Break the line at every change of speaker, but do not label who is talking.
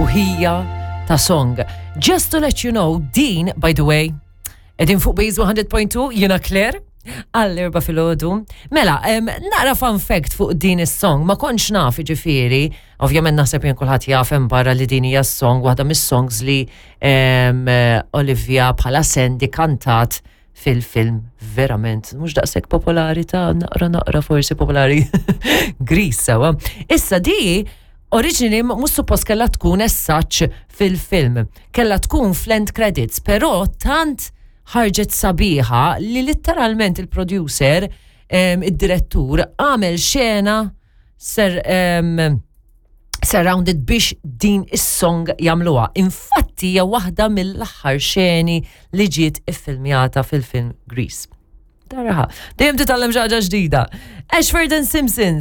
U ħija ta' song. Just to let you know, din, by the way, edin fuq Base 100.2, jena Claire, għall-erba filgħodu. Mela, nara fun fact fuq din is-song, ma kontx naf ġifieri, ovvjament naħseb jien kulħadd jaf hemm barra li din hija song, waħda mis-songs li Olivia bħala Sandy kantat fil-film verament mhux daqshekk popolari ta' naqra naqra forsi popolari Grease sewa. Issa di originally mhux suppost kellha tkun as such fil-film, kellha tkun fl-end credits, però tant ħarġet sabiħa li litteralment il-producer, id-direttur, għamel xena ser surrounded biex din is-song jagħmluha. Infatti hija waħda mill-aħħar xeni li ġiet iffilmjata fil-film Grease. Taraha. Dejjem titgħallem xi ħaġa ġdida. Ashford and Simpsons.